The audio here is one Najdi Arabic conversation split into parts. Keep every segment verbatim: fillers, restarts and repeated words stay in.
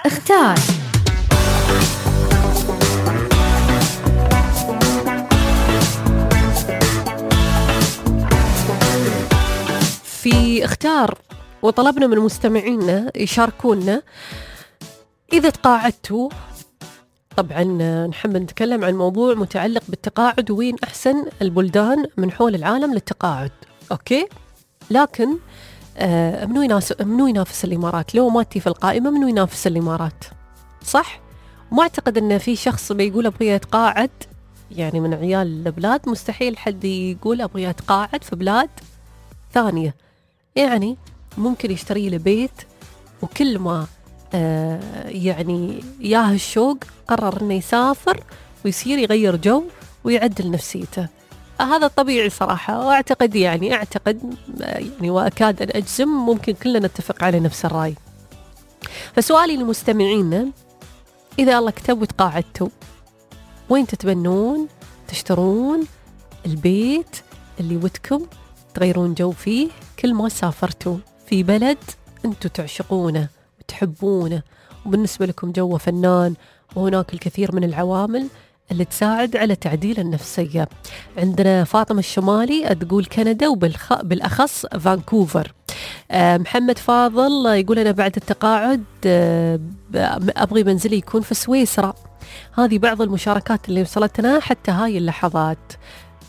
اختار. في اختار وطلبنا من مستمعينا يشاركونا إذا تقاعدتوا. طبعا نحب نتكلم عن موضوع متعلق بالتقاعد وين أحسن البلدان من حول العالم للتقاعد. أوكي، لكن آه منو ينافس منو ينافس الإمارات؟ لو ماتي في القائمة منو ينافس الإمارات؟ صح؟ وما أعتقد أن في شخص بيقول أبغى يتقاعد يعني من عيال البلاد، مستحيل حد يقول أبغى يتقاعد في بلاد ثانية. يعني ممكن يشتري له بيت، وكل ما آه يعني ياه الشوق قرر إنه يسافر ويصير يغير جو ويعدل نفسيته. آه هذا طبيعي صراحة، وأعتقد يعني أعتقد يعني وأكاد أن أجزم ممكن كلنا نتفق على نفس الرأي. فسؤالي للمستمعين، إذا الله كتب وتقاعدتوا وين تتبنون تشترون البيت اللي ودكم تغيرون جو فيه كل ما سافرتوا في بلد أنتوا تعشقونه وتحبونه وبالنسبة لكم جوه فنان، وهناك الكثير من العوامل اللي تساعد على تعديل النفسية؟ عندنا فاطمة الشمالي تقول كندا وبالخ... بالأخص فانكوفر. أه محمد فاضل يقول أنا بعد التقاعد أه أبغي منزلي يكون في سويسرا. هذه بعض المشاركات اللي وصلتنا حتى هاي اللحظات.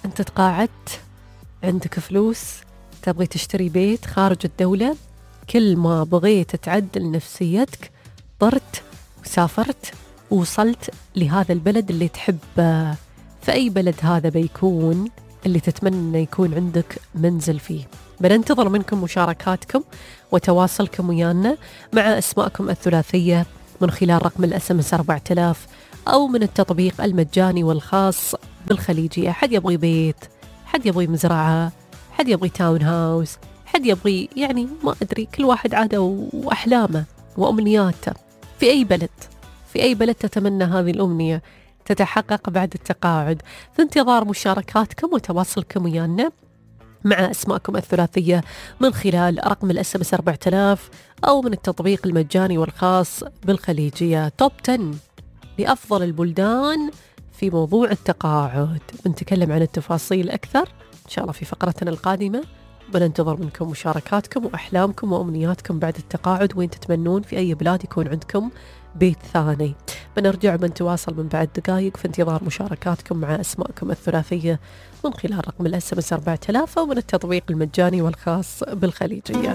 أنت تقاعدت، عندك فلوس، تبغي تشتري بيت خارج الدولة، كل ما بغيت تعدل نفسيتك طرت وسافرت ووصلت لهذا البلد اللي تحبه. فأي بلد هذا بيكون اللي تتمنى أنه يكون عندك منزل فيه؟ بننتظر منكم مشاركاتكم وتواصلكم ويانا مع أسماءكم الثلاثية من خلال رقم الاس ام اس أربعة آلاف أو من التطبيق المجاني والخاص بالخليجية. حد يبغي بيت، حد يبغي مزرعة، حد يبغي تاون هاوس، حد يبغي يعني ما أدري، كل واحد عاده وأحلامه وأمنياته. في أي بلد في أي بلد تتمنى هذه الأمنية تتحقق بعد التقاعد؟ في انتظار مشاركاتكم وتواصلكم ويانا مع أسماءكم الثلاثية من خلال رقم الاس ام اس أربعة آلاف أو من التطبيق المجاني والخاص بالخليجية. توب عشرة لأفضل البلدان في موضوع التقاعد. بنتكلم عن التفاصيل أكثر إن شاء الله في فقرتنا القادمة. بننتظر منكم مشاركاتكم وأحلامكم وأمنياتكم بعد التقاعد، وين تتمنون في أي بلاد يكون عندكم بيت ثاني. بنرجع بنتواصل من بعد دقائق في انتظار مشاركاتكم مع أسماءكم الثلاثية من خلال رقم الاس ام اس أربعة آلاف أو من التطبيق المجاني والخاص بالخليجية.